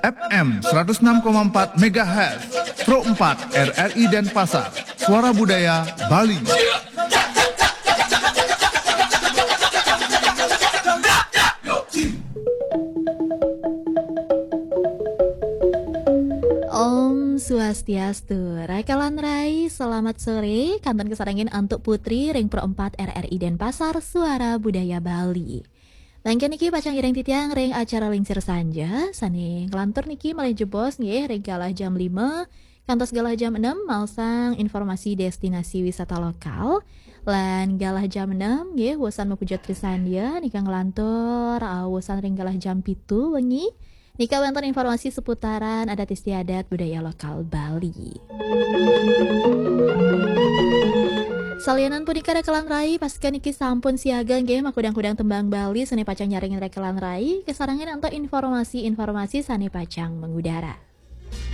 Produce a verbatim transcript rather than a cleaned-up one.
F M seratus enam koma empat megahertz, Pro empat R R I Denpasar, Suara Budaya Bali. Om Swastiastu, Rakalan Rai, selamat sore. Kantun kasarengin antuk Putri ring Pro empat R R I Denpasar, Suara Budaya Bali. Langkung niki pacang iring titiang ring acara Lingsir Sanja, sane nglantur niki malih jebos nggih ring galah jam lima kantos galah jam enam, maosang informasi destinasi wisata lokal. Lan galah jam enam nggih, wusan mapujut Trisandya, nika nglantur, uh, wusan ring galah jam pitu wengi. Nika wenten informasi seputaran adat istiadat budaya lokal Bali. Salianan punika Rakalan Rai, pastika niki sampun siaga nggih makudang-kudang tembang Bali sane pacang nyarengin Rakalan Rai, kasarengin antuk informasi-informasi sane pacang mengudara.